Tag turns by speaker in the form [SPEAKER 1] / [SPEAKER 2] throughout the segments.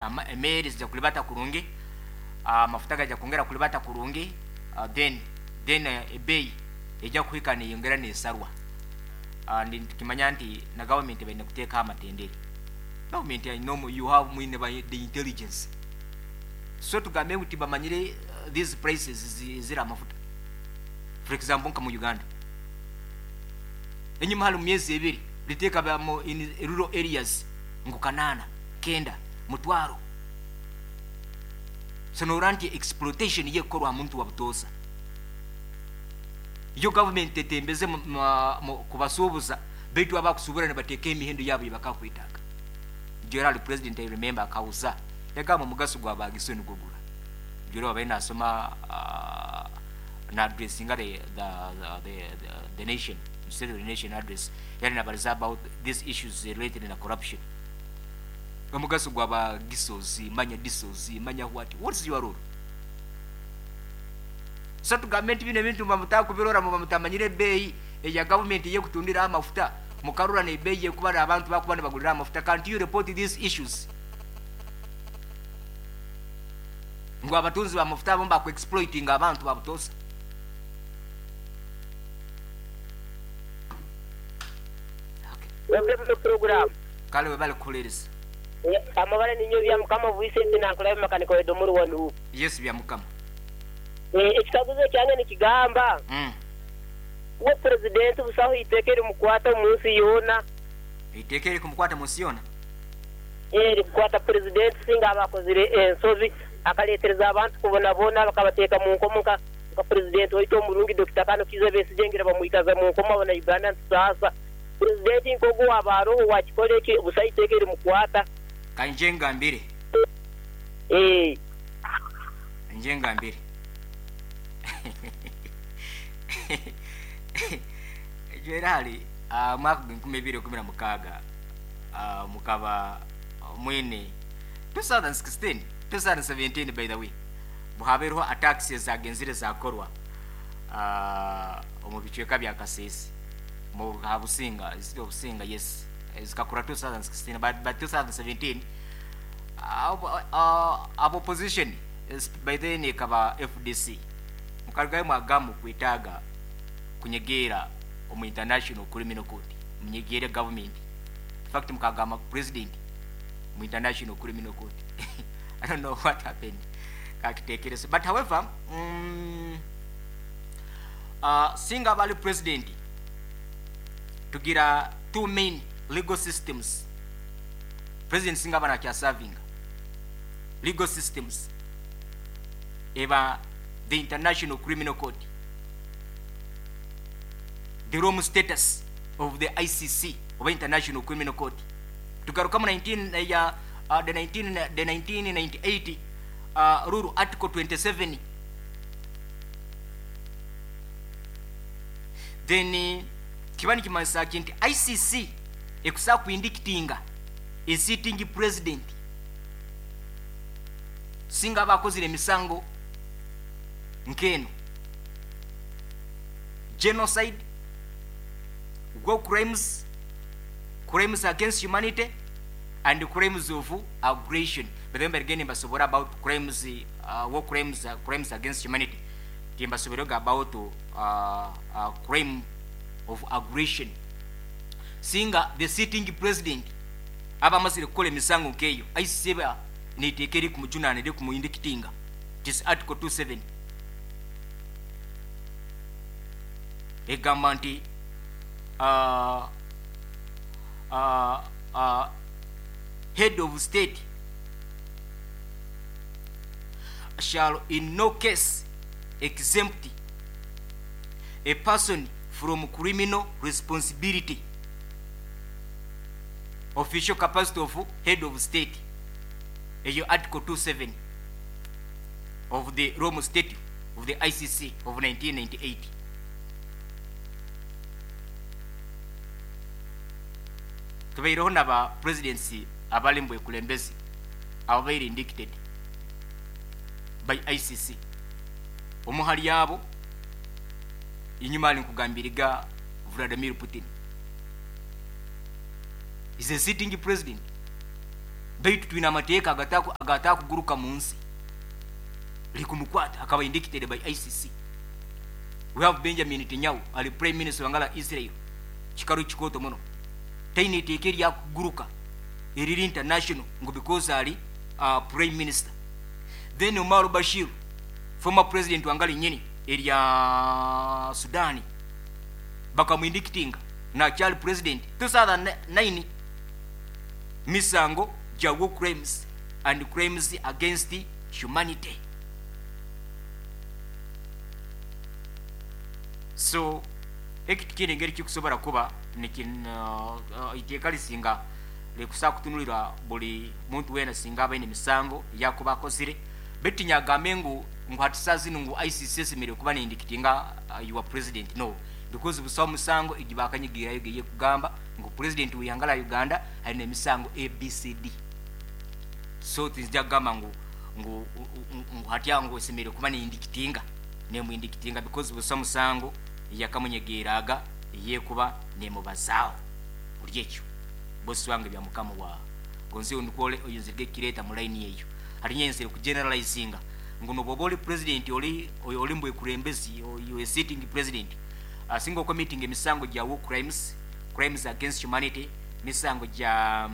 [SPEAKER 1] Emeeri zija kulibata kurungi, amafuta gajya kwongera kulibata kurungi, then ebeeyi ejya kuhika neyongera nesarwa. Nitukimanya nti na gavumenti baine kuteekaho amatendere. Gavumenti aine you have mwine the intelligence, so tugambe ngu tibamanyire these prices eziri amafuta. For example, nka mu Uganda enyuma hali mu myezi 2 liteeka in rural areas ngu 800, 900, 1000. So norora nti exploitation yekukorwa ha muntu wa butoosa. Yo gavumenti etembeze kubasuubuza, baitu abakusubura nibateeka emihendo yabo eyibakakwetaaga. Gerald president, I remember, akauza yagamba omugaso gwa bagiso nigwo gura. Jora wabaire nasoma na addressinga the nation, state of the nation address, yali nabaliza about these issues related na corruption. Omugaso gwa bagisozi, manya disozi, manya what's your role? So tugambe nti bino ebintu muba mutakubirora, muba mutamanyire ebeeyi eya gavumenti eyekutundira amafuta, mukarora n'ebeeyi yekuba abantu bakuba nibagulira amafuta. Can't you report these issues ngu abatunzi b'amafuta abo bakuexploitinga abantu babutosa?
[SPEAKER 2] Okay. Program.
[SPEAKER 1] Kale webale kuhuliiriza.
[SPEAKER 2] Amabara ninyo bya Mukama Vincent nankulabe makanika wedomuru wanu.
[SPEAKER 1] Yes, bya Mukama.
[SPEAKER 2] Ekikaguzo kyange nikigamba uwo president busaho iteeka erimukwata mu nsi yoona.
[SPEAKER 1] Iteeka erikumukwata mu nsi yoona?
[SPEAKER 2] Erikukwata president singa aba akozire ensobi akaleetereza abantu kubonabona bakabateeka mu nkomo nka president waitu omurungi Dr. Kano Kiiza Besigye ngira bamwikaza mu nkomo abana Uganda ntusaasa. President nkogu waba aroho wakikora eki busaho iteeka erimukwata.
[SPEAKER 1] Kanje ngambire. Nje ngambire. Jwerali mwaka 2016 mukaba mwine 2016 2017, by the way, buhabereho attacks ezagenzire zakorwa omu bicweka bya Kasese mu Habusinga, ziri Obusinga, yes, zikakura 2016, but 2017 opposition by then ekaba FDC, mukarugayo mwagamu kwetaaga kunyegeera omu International Criminal Court, munyegeere government. In fact, mukagamba president mu International Criminal Court. I don't know what happened, kakitekereza. But however, singa bali president, tugira two main legal systems. President singa bana kyasavinga, legal systems eba the International Criminal Court, the Rome Status of the ICC oba International Criminal Court. Tugaruka mu 19 ya the 19 the 1998 rule article 27. Then kiba nikimanyisa ki nti ICC ekusa kuindictinga a sitting president singa abakozire emisango nkeno: genocide, war crimes, crimes against humanity and crimes of aggression. But then again, mbasobora about crimes, war crimes, crimes against humanity, timbasobora about crime of aggression. Singa the sitting president aba amazire kukola emisango nkeyo, ICC eba neiteeka eri kumujunana, eri kumuindictinga. It is article 27, egamba nti head of state shall in no case exempt a person from criminal responsibility, official capacity of head of state. Eyo article 27 of the Rome Statute of the ICC of 1998. Tubaireho naba presidency abali mu bwekulembezi ababaire indicted by ICC. Omuhali abo inyuma ali nkugambiriga Vladimir Putin is a sitting president. Baitu twine amateeka agatakuguruka mu nsi. Likumukwata akaba indicted by ICC. We have Benjamin Netanyahu, ali prime minister wangala Israel. Kikaru kikoto muno. Taine iteeka eryakuguruka eriri international ngu because ali prime minister. Then Omar Bashir, former president wangali nyini erya Sudani, bakamuindictinga nakyali president 2009 misango gya war crimes and crimes against humanity. So ekiti kiri engeri kikusobola kuba iteeka lisinga likusa kutunulira buli muntu wena singa abaine emisango yakuba akozire. Baitu nyagambe ngu hati saa zinu ngu ICC esemeriire kuba neindictinga your president, no, because busaho musango egibakanyigirayo geye kugamba ngu president w'ihanga la Uganda alina emisango ABCD. So tinzija kugamba ngu hati aho ngu esemeriire kuba neindictinga, nemuindictinga because busaho musango yakamunyegeraga eyekuba nemubazaaho buli ekyo. Bosi wange bya mukama wa gonzi onukole oyinzirige kireta mu line eyo. Hari nyenzere ku generalizinga ngu noboba oli president oli oyo oli mbwe kurembezi oyo sitting president asinga committing emisango gya war crimes, crimes against humanity, misango gya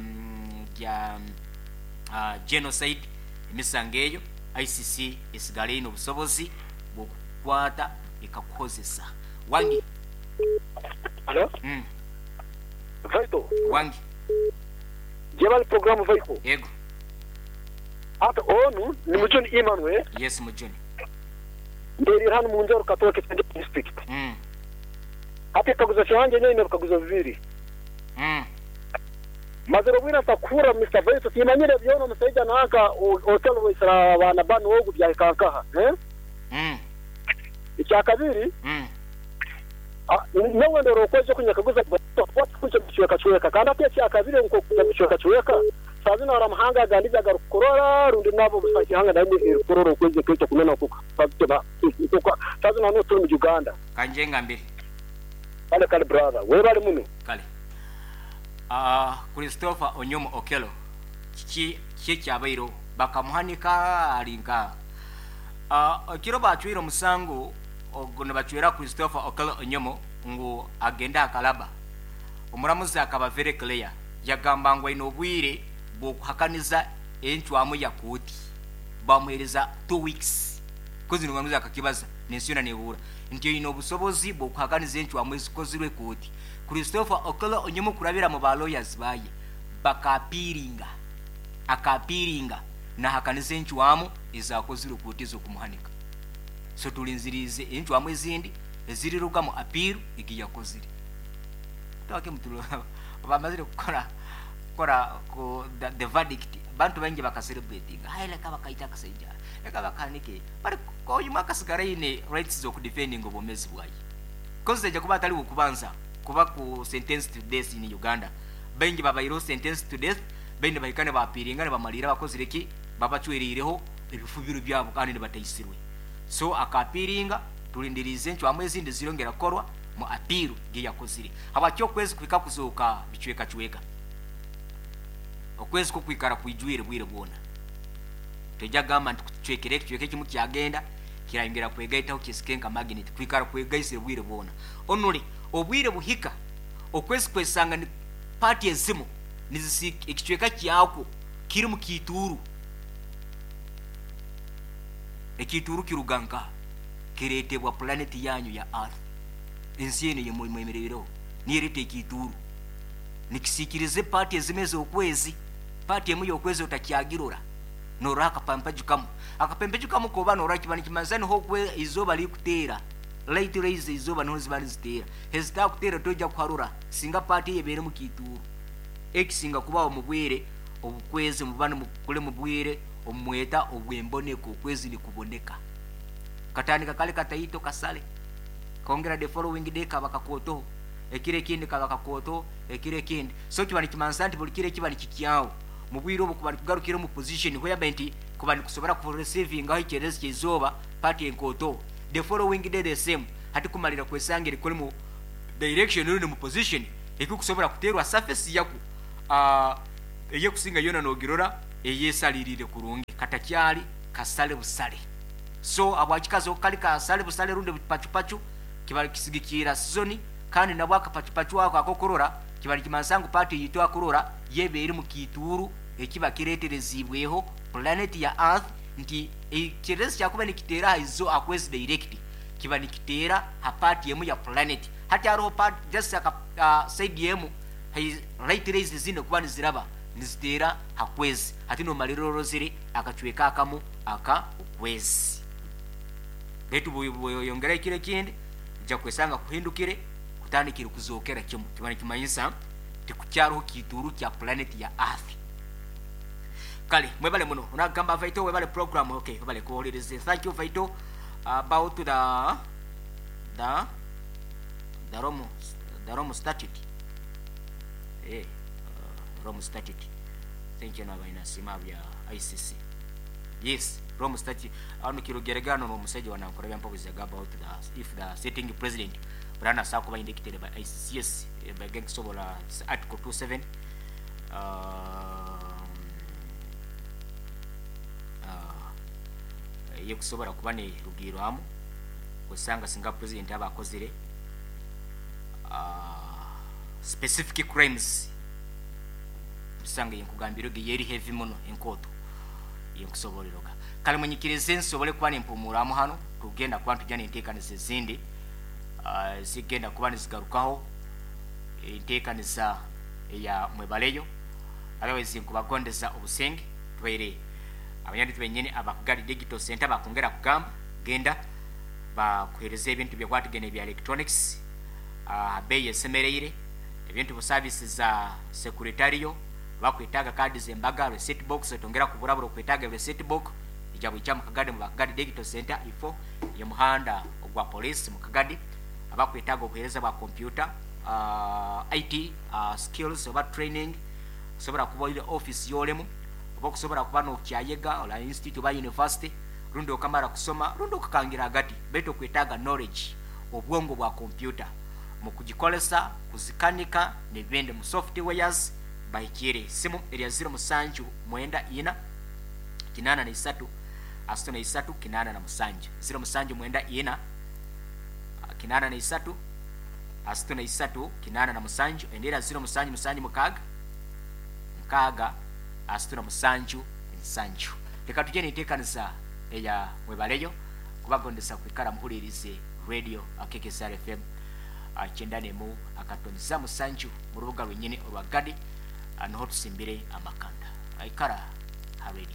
[SPEAKER 1] genocide, emisango eyo ICC esigale ino obusobozi bw'okukwata ekakuhozesa. Wangi.
[SPEAKER 3] Hello? Vaito.
[SPEAKER 1] Wangi.
[SPEAKER 3] Jebali programu Vaiko.
[SPEAKER 1] Yego.
[SPEAKER 3] Ata onu ni Mujuni Emmanuel.
[SPEAKER 1] Yes, Mujuni.
[SPEAKER 3] Nderi hano mu Njoro Katooke district. Ate kaguzo kyanje nyine kaguzo bibiri. Mazero bwira takura Mr. Vaito timanyire byono musaija nanka hotel wesara abana banu ogu bya kankaha, eh? Icyakabiri? Nawe ndoro okoje kunyakaguza kuja kuchweka chweka kandi ate icyakabiri nko kuja kuchweka chweka sazina ara mahanga agandiza garukorora rundi nabo busakihanga naimwe erikorora okweze kweto kunena kuka sazina no turi mu Uganda
[SPEAKER 1] kanjenga mbere
[SPEAKER 3] kale kale brother we bali muno
[SPEAKER 1] kale Christopher Onyomo Okello kiki kyabairo bakamuhanika alinka kiro bachwira musango ogo nabachwera Christopher Okello Onyomo ngu agenda akalaba. Omuramuzi akaba very clear yagamba ngu aine obwire bw'okuhakaniza encwamu ya kooti bamuhereza 2 weeks kozi nomuramuzi akakibaza n'ensi yona nebuura nti aine obusobozi bw'okuhakaniza encwamu ezikozirwe kooti. Christopher Okello Onyomo kurabira mu ba lawyers baye bakapiringa akapiringa nahakaniza encwamu ezakozirwe kooti ez'okumuhanika. So tulinzirize encwamu ezindi eziriruga mu appeal egiyakozire. Twake mutulo bamazire kukora kora ko the verdict bantu bangi bakacelebratinga hayi leka bakaita akasaija leka bakanike bali koyuma akasigara ine rights zo kudefending obomezi bwaye koze ja kuba atali kubanza kuba ku sentence to death in Uganda. Bengi babairo sentence to death bende bahikane bapiringa ne bamalira bakozire ki babachwerireho ebifubiro byabo kandi ne batayisirwe. So akapiringa tulindirize ncwamu ezindi zirongera korwa mu apiru giyakozire habakyo kwezi kwika kuzoka bichweka chweka okwezi kukwikara kwijwire bwire bwona tejagamba nti kuchwekere kichweke kimu kyagenda kirayongera kwegaitaho kisikenka magnet kwikara kwegaisire bwire bwona onule obwire buhika okwezi kwesanga ni party ezimu nizisi ekichweka kyako kiri mu kituru ekituru kiruganka kiretebwa planet yanyu ya earth ensi eno yemwemerero niyerete ekituru nikisikirize party ezimeze okwezi party emu yokwezi otakyagirora nora akapampajukamu akapempejukamu koba nora kibani kimanzani ho kwe izoba likutera light rays izoba niho ziba nizitera hezita kutera toja kuharura singa party yebere mu kituru ekisinga kubaho mu bwire obukwezi mubana mukule mu bwire omweta obwemboneko okwezi nikuboneka katandika kale kataito kasale kongera the following day kabakakoto ekire kindi kabakakoto ekire kindi so kibani kimansa nti buli kire kibani kikyawo mu bwire obu kubani kugarukira mu position hoya benti kubani kusobora ku receiving aho ikerezi kizoba party enkoto the following day the same hati kumalira kwesangire kuli mu direction uri mu position ekukusobora kuterwa surface yaku Eyekusinga yona nogirora eyesalirire kurungi, katakyali kasale busale. So abwakikazi kali kasale busale rundi pachupachu kibali kisigikira season, kandi nabwo akapachupachu ako akokurora kibali kimansa ngu pati yitu akurora yebe eri mu kituru ekiba kireterezibweho planet ya Earth, nti ekyerezi kyakuba nikiteera izo akwezi direct kiba nikiteera ha part emu ya planet. Hati hariho part just aka side emu light rays zino kuba niziraba niziteera hakwezi, hati nomalira orozire akacweka akamu aka okwezi. Baitu bweyongera ekiro ekindi ojja kwesanga kuhindukire kutandikire kuzookera kimu, kiba nikimanyisa tikukyariho kituru kya planet ya Earth. Kale mwebale muno onagamba Vaito, webale program. Okay, webale kuwuliriza. Thank you Vaito. About the Rome, the Rome Statute, Rome Statute. Thank you. Nabaina sima bya ICC. Yes, Rome Statute ano kirugeregano n'omusajja wanankora byampobuzaga about the if the sitting president brana sakuba indicted by ICC. Yes, by gang sobola article 27 yekusobola kuba ne rugirwamu osanga singa president aba akozire specific crimes, usanga yenkugambiro ge yeri heavy muno enkoto yenkusoboleroga. Kale munyikirize nsobole kuba nempumuramu hano, tugenda kuba tujja nenteekaniza ezindi zigenda kuba nizigarukaho enteekaniza eya mwebaleyo. Otherwise nkubagondeza obusenge tubaire abanyandi benyini abakugari digital center bakongera kugamba genda bakuhereza ebintu byakwatigene bya electronics beyi esemereire, ebintu bu services za secretarial bakwetaga kadi zembaga receipt box otongera kuburabura okwetaga receipt book ija bwijja mu Kagadi mu Bakagadi Digital Center ifo ye muhanda ogwa police mu Kagadi. Abakwetaga obuhereza bwa computer IT skills oba training, osobola kuba oyine office yolemu oba okusobola kuba nokyayega ola institute oba university rundi okamara kusoma rundi okakangira agati, baitu okwetaaga knowledge obwongo bwa computer mu kugikolesa kuzikanika nebindi mu softwares bahikire. Simu erya 07 94 83 33 87 07 94 83 33 87 endera 07 7 6 6 37 7. Reka tujye nitekanisa eya mwebaleyo kubagondesa kwikara muhulirize radio KKSR FM 97.7 mu rubuga lwenyini olwa Gadi, niho tusimbire amakanda aikara ha radio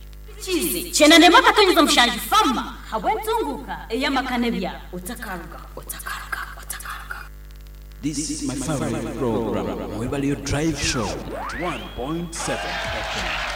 [SPEAKER 4] Chizi 97.7 fama habwentunguka eyamakane bya otakaruga otakaruga otakaruga.
[SPEAKER 5] This is my favorite program, Mwebaleyo Drive Show 1.7 FM.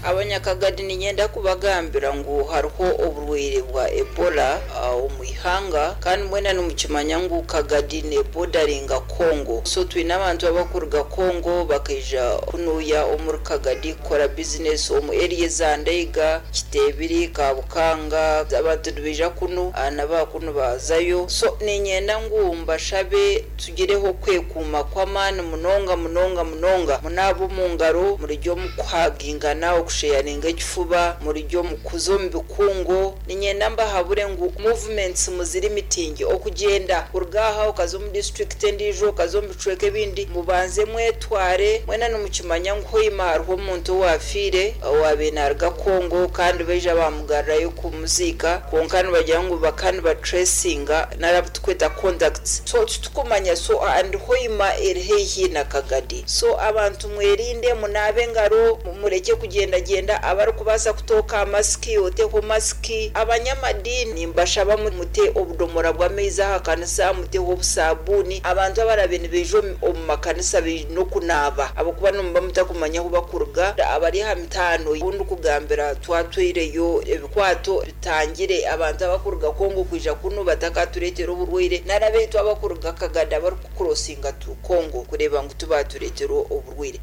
[SPEAKER 6] Abanyakagadi ninyenda kubagambira ngu hariho oburwaire bwa Ebola omu ihanga, kandi mwena nimukimanya ngu Kagadi nebodaringa Congo. So twine abantu abakuruga Congo bakaija kunuya omuri Kagadi kukora bizinesi omu area za Ndeiga, Kitebiri, Kabukanga. Abantu nibaija kunu nabakunu bazayo. So ninyenda ngu mbashabe tugireho kwekuuma kw'amaani munonga munonga munonga, munaaba omu ngaro, murijya omu kuhagingana, okusheyaringa ekifuba, murijya omu kuza omu bikungo. Ninyenda mbahabure ngu movements muziri mitingi, okugyenda kuruga aha okaza omu district endiijo, okaza omu bicweka ebindi, mubanze mwetware. Mwena nimukimanya ngu hoima hariho omuntu owafiire owaabaire naaruga Congo, kandi baija bamugarurayo kumuziika, kwonka nibagira ngu baka nibatracinga nari tukweta contacts, so titukumanya. So and hoima eri haihi na Kagadi, so abantu mwerinde, munaabe engaro, mureke kugendagenda. Abarikubaasa kutooka masiki oteho masiki. Abanyamadini mbashaba mute obudomora bw'amaizi aha kanisa, muteho obusabuuni. Abantu abarabe nibaija omu makanisa baine okunaaba, ahabw'okuba nimuba mutakumanya ahu bakuruga. Abari aha mitaano obundi kugambira twatwireyo ebikwato bitangire abantu abakuruga Congo kwija kunu batakatureetera oburwaire, nari abaitu abakuruga Kagadi abarikukurosinga tu Congo kureba ngu tubatureetera oburwaire.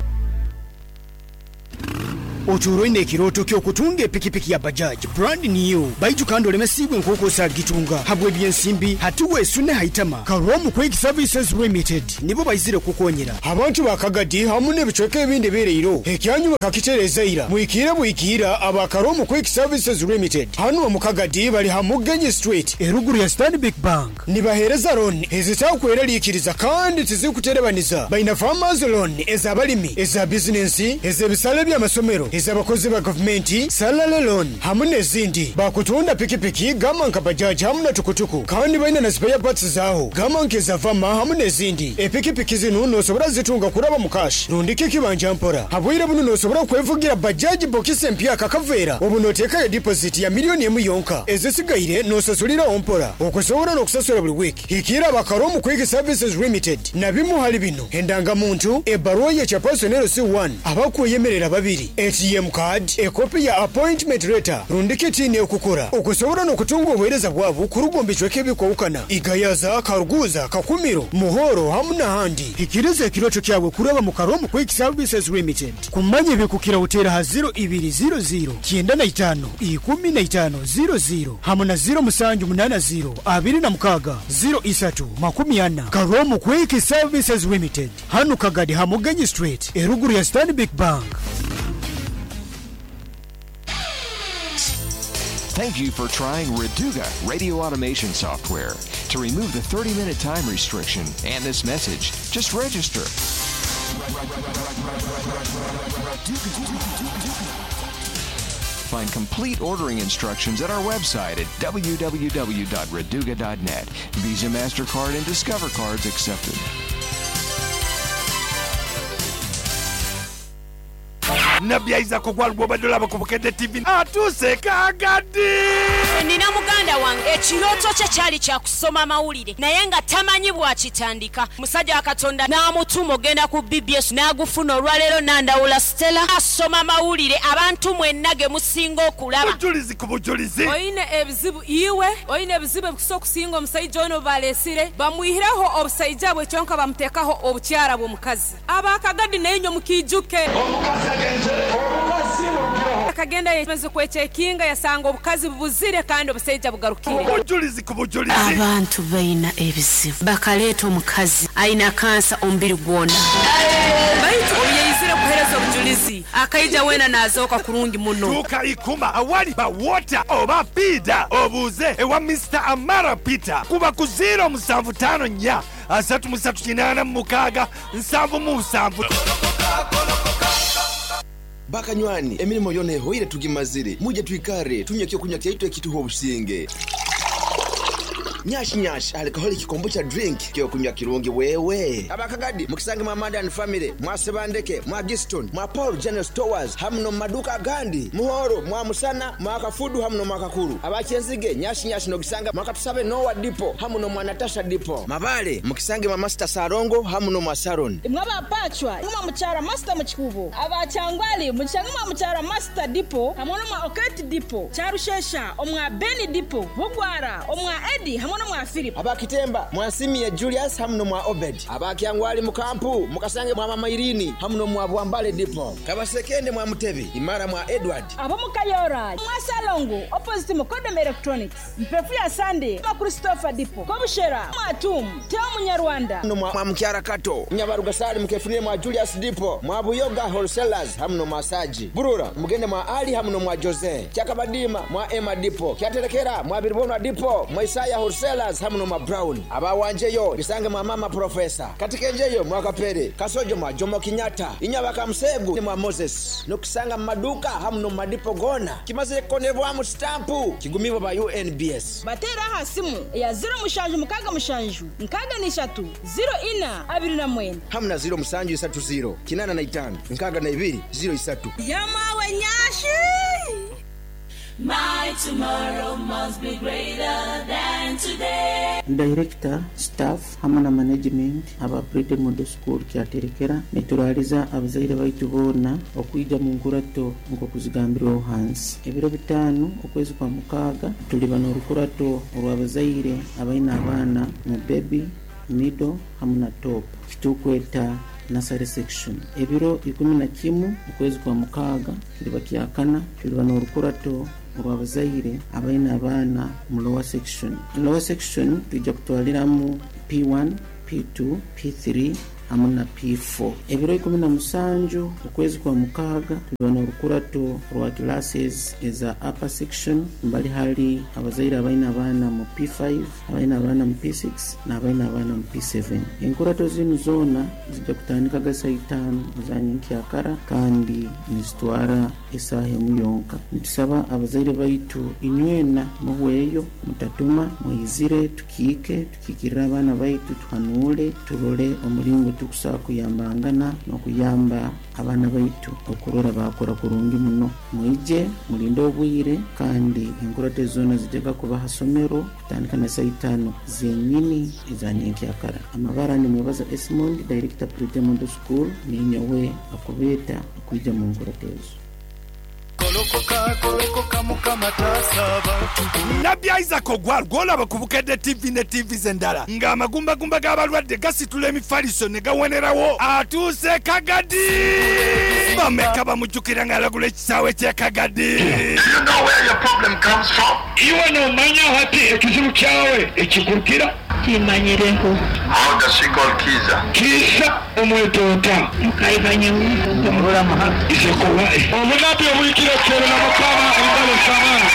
[SPEAKER 7] Otuura oine ekirooto ky'okutunga epikipiki ya Bajaj brand new baiju kandi olemesiibwe nk'oku osagitunga habw'ebyensimbi hati weesune ha itama. Karomu Quick Services Limited nibo baizire kukukonyera. Abantu ba Kagadi hamu n'ebicweka ebindi ebyereiro ekyanyu bakakitereeza ira. Mwikiire bwikiira aba Karomu Quick Services Limited hanu omu Kagadi bali ha Mugenyi Street eruguru ya Stanbic Bank. Nibaheereza looni ezitaakweraliikiriza kandi tizirikuterebaniza. Baina Farmers Loan ez'abalimi, eza bizinensi, ez'ebisale by'amasomero, ez'abakozi ba gavumenti, Salary Loan hamu n'ezindi. Bakutunda pikipiki gamba nka Bajaj hamu na tukutuku kandi baina na spare parts zaaho gamba nk'eza Vama hamu n'ezindi. Epikipiki zinu nosobora zitunga kuraba mu cash rundiki ekibanja mpora. Habwire bunu nosobora kwevugira Bajaj bokisi empyaka kaveera obu noteekayo deposit ya milioni emu yonka ezisigaire nosasuliraho mpora. Okusobola n'okusasula buli wiiki, hikiira aba Karomu Quick Services Limited na bimu hali bino, Endangamuntu, ebbaruwa y'ekya Personnel C1, abakweyemerera babiri, ATM card, ekopi ya appointment letter rundiki TIN ekukora. Okusobola n'okutunga obuheereza bwabo kuruga omu bicweka ebikwahukana, Igayaza, Karuguza, Kakumiro, Muhoro hamu n'ahandi. Hikiriza ekirooto kyawe kuraba mu Karomu Quick Services Limited. Kumanya ebikukiraho teera ha ziro ibiri ziro ziro kyenda na itaano 15 00 hamu na 0780 26 03 40. Karomu Quick Services Limited, hanu Kagadi ha Mugenyi Street, eruguru ya Stanbic Bank.
[SPEAKER 8] Thank you for trying Raduga Radio Automation Software. To remove the 30-minute time restriction and this message, just register. Find complete ordering instructions at our website at www.raduga.net. Visa, MasterCard, and Discover cards accepted.
[SPEAKER 9] Nabbi Isaac Ogwal gw'obadde olaba ku Bukedde TV atuuse e Kagadi!
[SPEAKER 4] Nina muganda wange ekirooto kye kyali kya kusoma mawulire naye nga tamanyi bw'akitandika. Musajja wa Katonda n'amutuma okugenda ku BBS n'agufuna. Olwaleero Nandawula Stella asoma mawulire abantu mwenna ge musinga okulaba.
[SPEAKER 9] Bujulizi ku bujulizi.
[SPEAKER 10] Oine ebizibu iwe, oine ebizibu ebikusa okusinga omusaija onu obu baleesire, bamwihireho obusaija bwe kyonka bamuteekaho obukyara bw'omukazi. Aba Kagadi nainywe mukiijuke. Akagenda yamazire kwecekinga yasanga obukazi bubuzire kandi obusaija bugarukire.
[SPEAKER 9] Obujulizi ku bujulizi.
[SPEAKER 11] Abantu baina ebizibu. Bakaleeta omukazi aina kansa omubiri gwona.
[SPEAKER 10] Baitu obu yaizire kuhereza obujulizi, akaija weena naazooka kurungi muno.
[SPEAKER 9] Tuuka Ikuma awali ba Water oba Piida obuuze ewa Mister Amara Peter kuba ku ziiro musanvu taano nnya asatu mu satu kinaana mu mukaaga nsanvu mu nsanvu.
[SPEAKER 12] Bakanywani, emirimo yoona ehoire tugimazire. Mwije twikare tunywe ekyokunywa kyaitu ekituha obusinge. Nyash Nyash alcoholic kombucha drink kyokunywa kirungi wewe. Abakagadi mukisange mwa Amanda and family, mwa Sebandeke, mwa Giston, mwa Paul General Stores hamu n'omu maduuka agandi. Muhoro, mwa Musana, mwa Kafudu hamu n'omwa Kakuru. Aba Kyenzige, Nyash Nyash n'ogisanga mwa Katusabe Noah Depot hamu n'omwa Natasha Depot. Mabale, mukisange mwa Master Sarongo hamu n'omwa Saron.
[SPEAKER 13] Imwe aba Pachwa, nimwe mwa Mukyara Master mu Kikuubo. Aba Kyangwali, mukisange mwa Mukyara Master Depot hamwe n'omwa Oketi Depot. Kyarushesha, omwa Beni Depot. Bugwara, omwa Eddie hamwe n'omwa Philip.
[SPEAKER 12] Aba Kitemba, mwa Nsimie Julius hamu n'omwa Obed. Aba Kyangwali mu kampu, mukasange mwa Mama Irini hamu n'omwa Bwambale Depot. Kabasekende mwa Mutebi, Imara mwa Edward.
[SPEAKER 13] Ab'omu Kayora, mwa Salongo, opposite Mukodom Electronics. Mpefu ya Sunday, mwa Christopher Depot. Kobushera, mwa Tum, Teo Munyarwanda.
[SPEAKER 12] N'omwa Mukyara Kato. Nyabarugasali mukefunire mwa Julius Depot. Mwa Buyoga Wholesalers hamu n'omwa Saji. Burura, mugende mwa Ali hamu n'omwa Jose. Kyakabadima mwa Emma Depot. Kyaterekera mwa Biribonwa Depot. Mwa Isaya Wholesalers hamu n'omwa Brown. Abawanjeyo bisange mwa Mama Professor. Katikenjeyo mwa Kapere. Kasojo mwa Jomo Kenyatta. Inyabaka Musegu mwa Moses. N'okusanga mu maduuka hamu n'omu madipo goona. Kimazire kukonebwamu sitampu. Kigumibwa ba UNBS.
[SPEAKER 13] Bateere aha simu eya 0767 63 04 29.
[SPEAKER 12] Hamu na 0730 85 62 03.
[SPEAKER 13] Yamawe Nyashi!
[SPEAKER 14] My tomorrow must be greater than today.
[SPEAKER 15] Director, staff hamwe na management aba Pride Model School Kyaterekera nituraliza abazaire baitu boona okwija mu nkurato nk'okuzigambirweho hansi. Ebiro bitaano okwezi kwa mukaaga tuliba n'orukurato orw'abazaire abaine abaana mu baby, middle hamwe na top. Kitukweta nursery section. Ebiro 11 okwezi kwa mukaaga kiriba kyakana, tuliba n'orukurato orw'abazaire abaine abaana mu lower section. Lower section twija kutwaliramu P1, P2, P3 hamu na P4. Ebiro 17 okwezi kwa mukaaga tuliba n'orukurato rwa classes eza upper section, mbali hali abazaire abaine abaana mu P5, abaine abaana mu P6 n'abaine abaana mu P7. Enkurato zinu zoona zijja kutandikaga saa itaano za nyenkyakara kandi nizitwara esaaha emu yonka. Nitusaba abazaire baitu inywena muhweyo, mutatuma, mwizire tukiike, tukiikirire abaana baitu, tuhanuule, turole omulingo tukusobola kuyambangana n'okuyamba abaana baitu okurora baakora kurungi muno. Mwije mulinde obwire kandi enkurato ezi zoona zijjaga kuba ha somero kutandika na saa itaano zenyini eza nyenkyakara. Amabara nimwebaza Esmond, Director Pretty Model School, ninyowe akubeeta okwija mu nkurato ezo.
[SPEAKER 9] Nabbi Isaac Ogwal gw'olaba ku Bukedde TV ne ttiivi ze endala ng'amagumbagumba g'abalwadde gasitula emifaliso ne gawonerawo atuuse e Kagadi! Bameka bamujjukira ng'alagula ekisaawe ky'e Kagadi?
[SPEAKER 16] Do you know where your problem comes from?
[SPEAKER 17] Iwe nomanya hati ekizibu kyawe ekikurukira?
[SPEAKER 18] Timanyireho.
[SPEAKER 16] How does she call Kiza?
[SPEAKER 17] Kiza omweta ota? Obunabi obuhikire kuterera Mukama engalo z'amaani.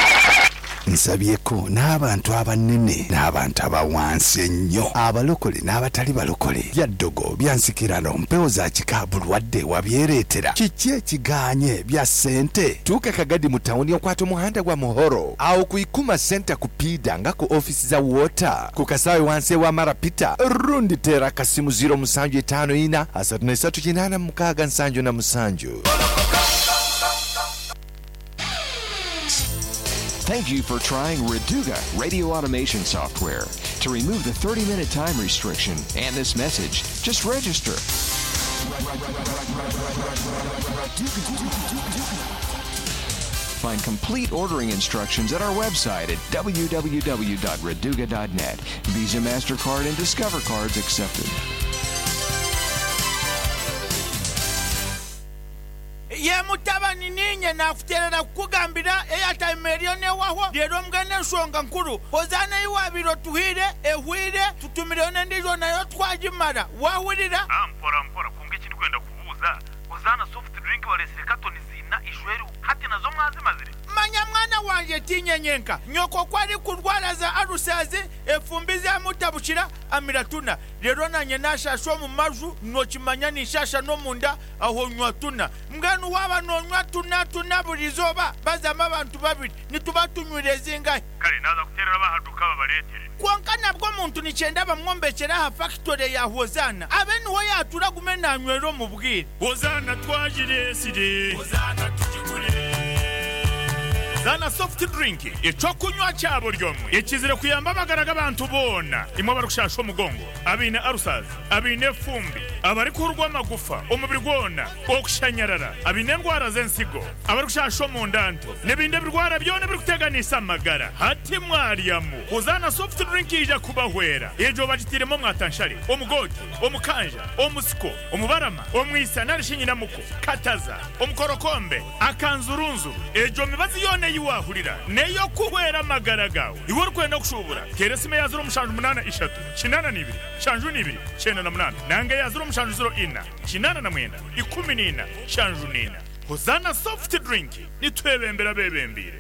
[SPEAKER 9] Nsabyeko n'abantu abanene n'abantu aba wansi ennyo, abalokole n'abatali balokole. Bya ddogo, bya nsikirano, mpewo za kika, bulwadde wabyereetera, kiki ekigaanye, bya ssente? Tuuka Kagadi mu tawuni okwate omuhanda gwa Muhoro agho ku Ikuma Centre ku Piida nga ku ofiisi za Water ku kasaawe wansi ewa Mara Peter rundi teera akasimu ziiro musanju itaano ina asatu na isatu kinaana mukaaga nsanju na musanju.
[SPEAKER 8] Thank you for trying Reduga radio automation software. To remove the 30-minute time restriction and this message, just register. Find complete ordering instructions at our website at www.reduga.net. Visa, MasterCard, and Discover cards accepted.
[SPEAKER 19] Ye mutabani niinye naakuteerera kukugambira eyataima eriyo neehwaho reero mbwenu enshonga nkuru Hozaana ei waabaire otuhaire ehweire tutumireyo n'endiijo nayo twagimara Waahurira?
[SPEAKER 20] Mpora mpora kwonka eki ndikwenda kubuuza, Hozaana soft drink bareetsire katoni ziina ishweru hati nazo mwazimazire?
[SPEAKER 19] Manya mwana wangye tiinye nyenka, nyoko ku arikurwara za alusazi, efumbi zamutabukira, amira tuna. Reero naanye naashaasha omu maju, nookimanya ninshaasha n'omunda, aho nywa tuna. Mbwenu waaba noonywa tuna tuna buri izooba, bazamu abantu babiri, nituba tunywire zingahi?
[SPEAKER 20] Kare naaza kuteerera ab'aha duuka babareetere.
[SPEAKER 19] Kwonka nabwo omuntu nikyenda bamwombekyere aha fakitore ya Hozaana, abe niho yaatuura agume naanywera omu bwire.
[SPEAKER 20] Hozaana twagireetsire. Hozaana tugigure. Hozaana soft drink eky'okunywa kya buri omwe ekizire kuyamba amagara g'abantu boona, imwe abarikushasha omugongo, abaine ulcers, abaine efumbi, abarikuhurwa amagufa omubiri gwona, okushanyarara, abaine endwara z'ensigo, abarikushasha omunda nto n'ebindi ebirwara byona ebirikuteganisa amagara. Hati mwaryamu, Hozaana soft drink yaija kubahwera. Egyo bagitairemu omwatanshare, omugoote, omukanja, omusiko, omubarama, omwisa nari shi nyinamuko, kataza, omukorokombe, akanzurunzuru. Egyo mibazi yoona ei waahurira n'ey'okuhwera amagara gaawe. Iwe orikwenda kushuubura, teera esimu eya ziro mushanju munaana ishatu, kinaana na ibiri, nshanju na ibiri, kyenda na munaana nanga eya ziro mushanju ziro ina, kinaana na mwenda, ikumi na ina, nshanju na ina. Hozaana Soft Drink, nitwebembera abeebembeire.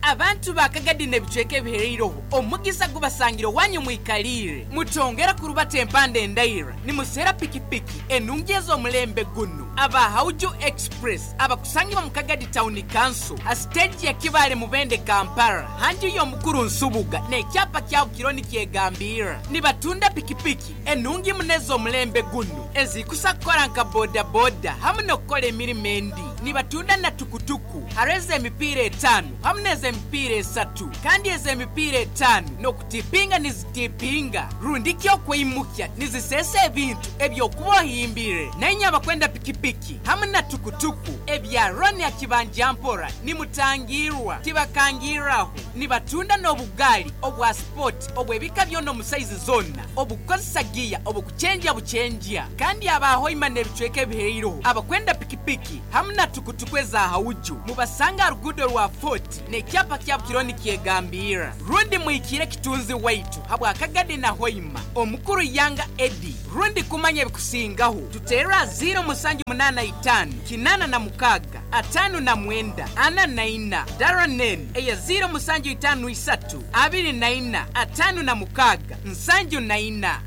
[SPEAKER 21] Abantu ba Kagadi n'ebicweka ebihereireho, omugisa gubasangire owanyu mwikaliire. Mutongera kurubata empanda endaira nimuseera pikipiki enungi ez'omulembe gunu. Aba Hauju Express abakusangibwa mu Kagadi Town Council ha siteegi ya Kibaale Mubende Kampala ha nju y'omukuru Nsubuga n'ekyapa kyabo kiriho nikyegambirra. Nibatunda pikipiki enungi muno ez'omulembe gunu ezikusa kukora nka bodaboda hamu n'okukora emirimo endi. Nibatunda na tukutuku haro ez'emipiira 5 hamu n'ez'emipiira 3, kandi ez'emipiira 5 n'okutipinga nizitipinga rundi ki okweimukya nizisesa ebintu ebyokuba ohimbire. Nainye abakwenda pikipiki hamu na tukutuku ebya Roni akibanja mpora nimutangirwa tibakangirraho. Nibatunda n'obugaali obwa sipoti obw'ebika byona omu saizi zoona, obukukozesa giya obukucenjya bucenjya. Kandi aba Hoima n'ebicweka ebihairoho abakwenda pikipiki hamu na tukutuku eza hauju mubasanga aha ruguudo rwa Fort n'ekyapa kyabo kiriho nikyegambirra. Rundi muhikiire kitunzi waitu habwa Kagadi na Hoima, Omukuru Yanga Eddie. Rundi kumanya ebikusingaho tuteerre aha 0785 86 59 44 Daranen eya 0753 24 56 74.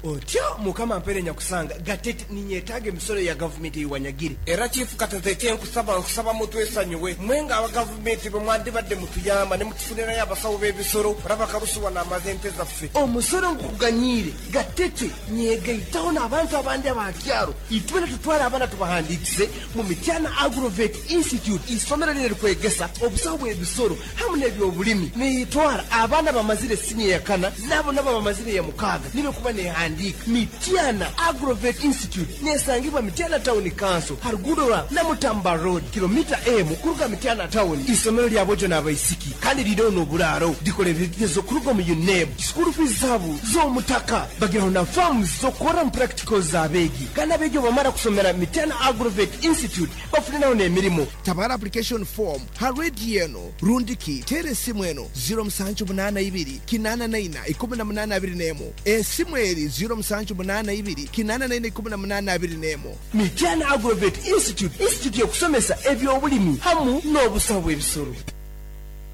[SPEAKER 18] Otyo Mukama mpere nyakusanga gatete ninyetaaga emisoro ya gavumenti eiwanyagire. Era chifu katete ekyenkusaba nkusaba mutwesanyuwe mwenga aba gavumenti bwe mwandibadde mutuyamba ne mutufunirayo abasawo b'ebisoro olaba karusuwa n'amaze ente zaffe. Omusoro nkukuganyiire gatete nyegaitaho n'abantu abandi abakyaro itwena tutwale abaana tubahandiikise mu Mityana Agrovet Institute, isomero lino likwegesa obusawo bw'ebisoro hamu n'ebyobulimi. Niyitwara abaana bamazire siniya ya kana nabo nabo bamazire ya mukaaga nibe kuba nehandiika. Mityana Agrovet Institute nesangibwa Mityana Town Council harugudo rwa Namutamba Road kilomita emu kuruga Mityana Town. Isomero lya bojo n'abaisiki kandi liriho n'oburaaro likola ebigezo kuruga mu UNEB. School fees zaabo z'omutaka bagiraho na farms z'okukora mu practicals z'abeegi kandi abeegi obamara kusomera Mityana Agrovet Institute bafuniraho n'emirimo.
[SPEAKER 22] Tabara application form ha rediyo eno rundiki teera esimu eno 0782 84 1821 esimu eri 0782 84 1821.
[SPEAKER 18] Mityana Agrovet Institute, institute y'okusomesa ebyobulimi hamu n'obusawo bw'ebisoro.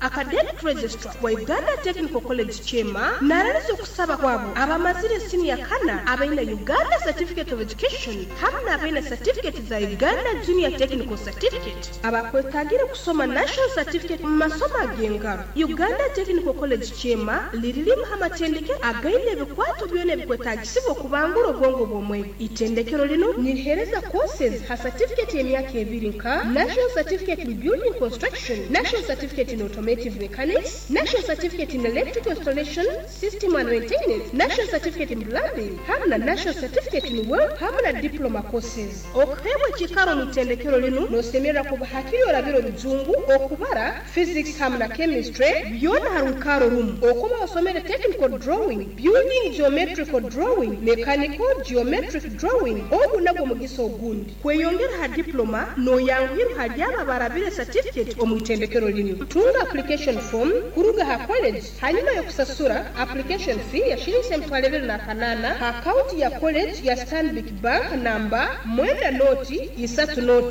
[SPEAKER 23] Academic Registrar wa Uganda Technical College Chema naraliza okusaba kwabo abamazire siniya kana abaina Uganda Certificate of Education hamu n'abaina certificate za Uganda Junior Technical Certificate abakwetagire kusoma National Certificate mu masomo ag'engaro. Uganda Technical College Chema liririmu amatendekero againe ebikwato byona ebikwetagisibwa okubangura obwongo bw'omwegi. Itendekero lino nirihereza courses ha certificate y'emyaka 2 nka National Certificate in Building Construction, National Certificate in Automation Mechanics, National Certificate in Electrical Installation, System and Maintenance, National Certificate in Plumbing, hamu na National Certificate in Work, hamu na Diploma Courses. Okuheebwa ekikaro mu itendekero lino nosemerera kuba hakiri orabire orujungu, okubara, Physics hamu na Chemistry, byona ha rukaro rumu. Okuba osomere Technical Drawing, Building Geometrical Drawing, Mechanical Geometric Drawing, ogu nagwo mugisa ogundi. Kweyongera ha diploma noyanguhirwa hali abo abarabire certificate omu itendekero lino. Tunga application form kuruga ha college hanyuma yokusasura application fee ya shilingi 2800 ha account ya college ya Stanbic Bank namba 9 0 3 0 0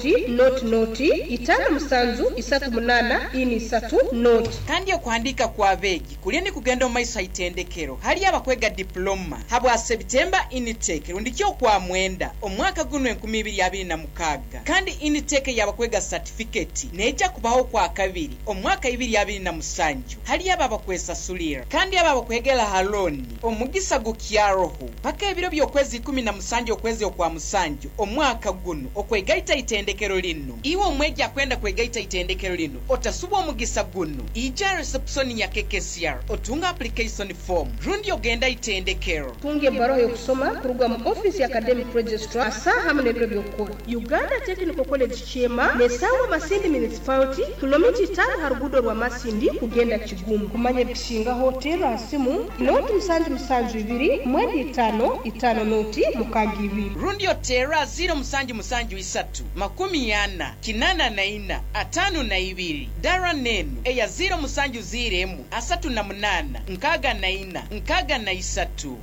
[SPEAKER 23] 5 7 3 8 4 3 0.
[SPEAKER 21] Kandi okuhandika kwa beegi kuliyo ni kugenda omu maiso haitendekero hali abakwega diploma habwa September intake rundi kyo kwa mwenda omwaka guno 2026 kandi intake y'abakwega certificate neija kubaho kwa kabiri omwaka 2027 hali aba bakwesasulira kandi aba bakwegera haloni omugisa gukyaroho paka ebiro by'okwezi 17 okwezi okwa musanju omwaka guno okwegaita itendekero lino. Iwe omwegi akwenda kwegaita itendekero lino otasubwa omugisa guno, ija reception ya KKCR otunga application form rundi ogenda itendekero.
[SPEAKER 23] Tunga ebbaruha y'okusoma kuruga mu office ya Academic Registrar asaha hamu n'ebiro by'okukora. Uganda Technical College Chema nesangwa Masindi Municipality kilomita 5 ha ruguudo rwa Masindi kugenda Kigumu. Kumanya ebikusingaho teera simu 077 295 5 0 62
[SPEAKER 21] rundi otera 0773 40 84 52 dara nenu eya 0701 38 64 63.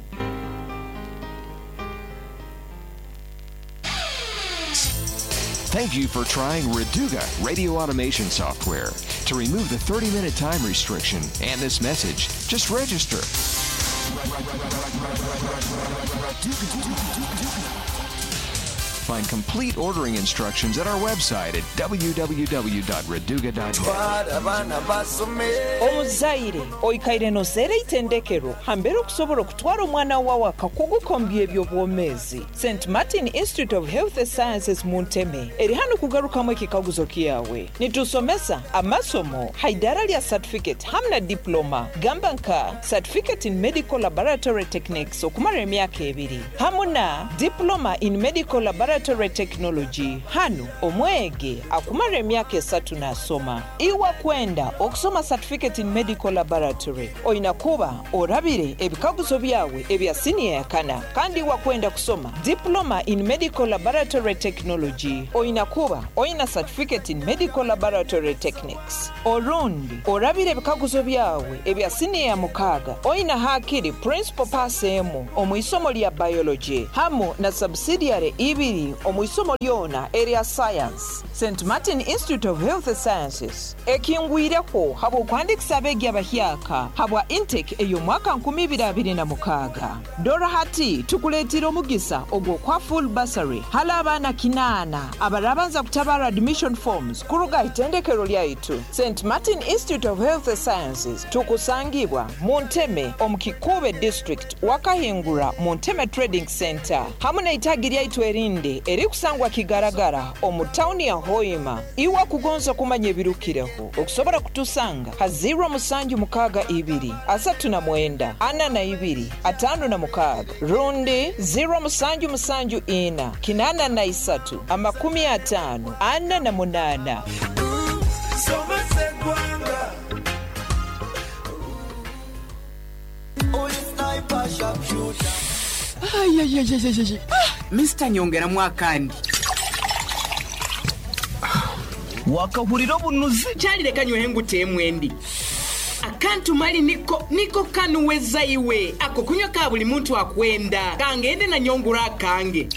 [SPEAKER 8] Thank you for trying Reduga radio automation software. To remove the 30-minute time restriction and this message, just register. find complete ordering instructions at our website at www.reduga.net.
[SPEAKER 1] Omuzaire oikaire noseera eitendekero hambere okusobola okutwara omwana wawe akakuguka omu by'ebyobwomeezi. St Martin Institute of Health Sciences mu Nteme eri hanu kugarukamu ekikaguzo kyawe. Nitusomesa amasomo ha idaara lya certificate hamu na diploma, gamba nka Certificate in Medical Laboratory Techniques okumara emyaka ebiri hamu na Diploma in Medical Laboratory Technology hanu omwegi akumara emyaka esatu nasoma. Iwe kwenda okusoma Certificate in Medical Laboratory oina kuba orabire ebikaguzo byawe ebya siniya ya kana, kandi iwe kwenda kusoma Diploma in Medical Laboratory Technology oina kuba oina Certificate in Medical Laboratory Techniques orundi orabire ebikaguzo byawe ebya siniya ya mukaaga oina hakiri Principal Pass emu omu isomo lya Biology hamu na Subsidiary ibiri omu isomo lyona erya Science. St Martin Institute of Health Sciences ekingwireho habw'okuhandikisa abeegi abahyaka habwa intake ey'omwaka 2026. Dora hati tukuleetire omugisa ogw'okuha full bursary hali abaana 800 abarabanza kutabara admission forms kuruga aha itendekero lyaitu. St Martin Institute of Health Sciences tukusangibwa mu Nteme omu Kikuube District, wakahingura mu Nteme Trading Center hamu n'eitaagi lyaitu erindi erikusangwa Kigaragara omu tawuni ya Hoima. Iwe kugonza kumanya ebirukireho okusobola kutusanga ha 0762 39 42 56 rundi 0774 83 50 48.
[SPEAKER 2] Somesa eggwanga. Oli sniper, sharpshooter.
[SPEAKER 21] Mr nyongeramu akandi.
[SPEAKER 3] Wakahurira obunuzi.
[SPEAKER 21] Kyalireka nywehe nguteemu endi. Akantu mali niko kanuweza iwe ako kunywa ka buli muntu akwenda kangende na nyongura akange.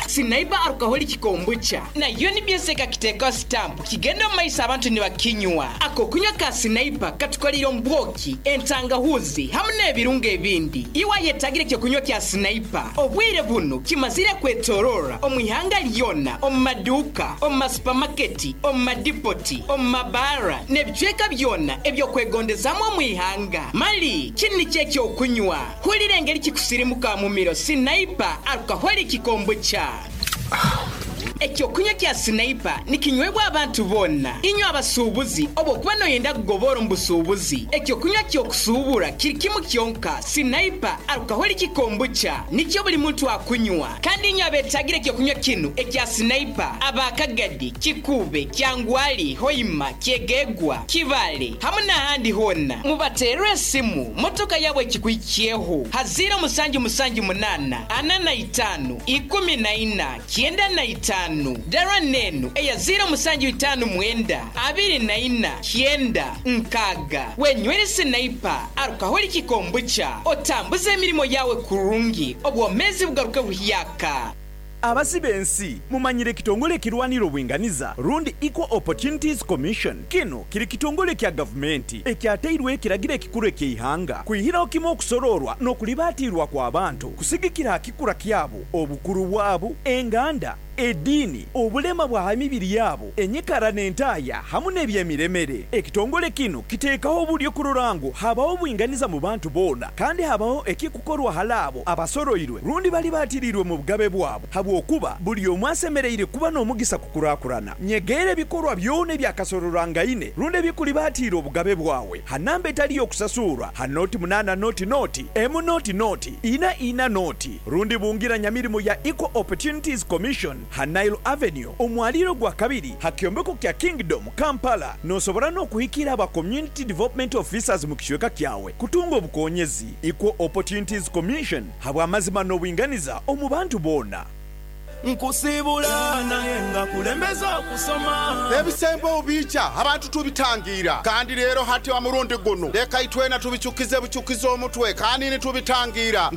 [SPEAKER 21] Sinaiba alcoholic kombucha nayo nibyeseka kiteka stamp kigenda mu maiso abantu nibakinywa. Ako kunywa ka sinaipa katukolera ombwoki, entangahuzi hamu n'ebirungo ebindi. Iwe ayetagire ekyo kunywa kya sinaipa obwire buno kimazire kwetorora omu ihanga lyona, omu maduuka, omu masupamaketi, omu madipoti, omu mabaara n'ebicweka byona ebyokwegondezamu omu ihanga. Mali kinu nikyo ekyokunywa. Hulira engeri kikusirimuka mu miro. Sinaipa alcoholic kombucha. Ekyokunywa kya sinaipa nikinywebwa abantu bonna. Inywe abasuubuzi obwokuba noyenda kugobora omu busuubuzi, ekyokunywa kyokusuubura kiri kimu kyonka. Sinaipa alcoholic kombucha nikyo buli muntu akunywa. Kandi inywe abetagire ekyokunywa kinu ekya sinaipa, abakagadi, Kikuube, Kyangwali, Hoima, Kyegegwa, Kibale hamu n'ahandi honna, mubaterere esimu motoka yabwe ekikuhikyeho ha 0778 45 14 95. Dara nenu eya 0759 24 9 6. Wenywere sinaipa alcoholic kombucha otambuze emirimo yawe kurungi, obwomezi bugaruke buhyaka.
[SPEAKER 24] Abasi b'ensi mumanyire ekitongole ekirwanira obwinganiza rundi Equal Opportunities Commission. Kinu kiri kitongole kya gavumenti ekyateirweho ekiragiro ekikuru eky'eihanga kwihiraho kimwe okusororwa n'okulibatiirwa kw'abantu kusigikira aha kikura kyabo, obukuru bwabo, enganda, ediini, obulema bwa ha mibiri yaabo, enyikara n'entaaya hamu n'ebyemiremere. Ekitongole kinu kiteekaho oburyo kurora ngu habaho obwinganiza mu bantu boona kandi habaho ekikukorwa hali abo abasoroirwe rundi bali baatiriirwe mu bugabe bwabo, habwokuba buli omwe asemereire kuba n'omugisa kukurakurana. Nyegeera ebikorwa byona ebyakasororwangaine rundi ebikulibaatiira obugabe bwawe ha namba etali y'okusasuurwa ha 08 00 M 00 44 0 rundi bungira nyamirimo ya Equal Opportunities Commission ha Nile Avenue omwaliiro gwa kabiri ha kyombeko kya Kingdom Kampala. Nosobora n'okuhikira aba Community Development Officers mu kicweka kyawe kutunga obukonyezi. Equal Opportunities Commission habw'amazima n'obwinganiza omu bantu boona.
[SPEAKER 2] Nkusibula naye nga kulembeza okusoma.
[SPEAKER 25] Ebisembo obiikya abantu tubitangiira, kandi leero hati omurundi gunu leka itwena tubicukize bucukize omutwe kandi nitubitangiira.